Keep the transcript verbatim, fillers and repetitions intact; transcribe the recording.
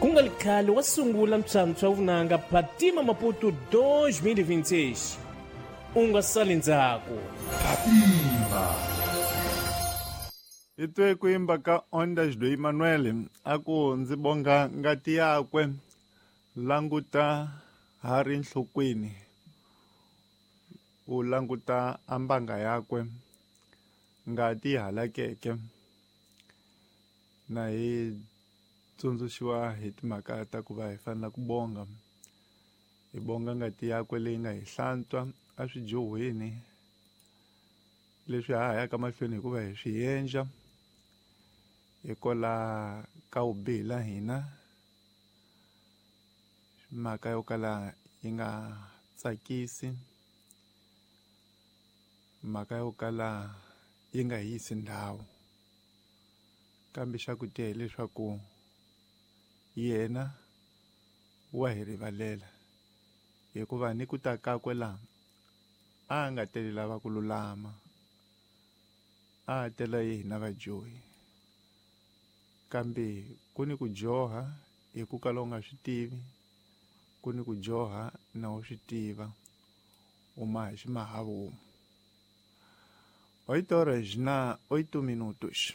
Ku nga ri khale wa sungula mphyamphya wa vunanga Phatima Maputo deux mille vingt-six. U nga sali ndzhaku. Phatima. Hi twe ku yimba ka Ondas do Emmanuel a ku ndzi bonga ngati yakwe languta ha ri nhlokweni u languta ambanga yakwe ngati halakeke na hi tsundzuxiwa hi timhaka ta ku va hi fanele ku bonga hi bonga ngati yakwe leyi nga hi hlantswa a swijohweni leswi ha yaka mahlweni hikuva hi swi endla hikola ka vubihi la hina mhaka yo kala yi nga tsakisi mhaka yo kala yi nga yisi ndhawu kambe xa ku tiya hileswaku yena wa hi rivalela hikuva ni ku ta kakwe laha a nga teli lava ku lulama a tela yi hina vadyohi kambe ku ni ku dyoha hi ku kala u nga swi tivi ku ni ku dyoha na u swi tiva u maha ximahavumu oito horas na oito minutos.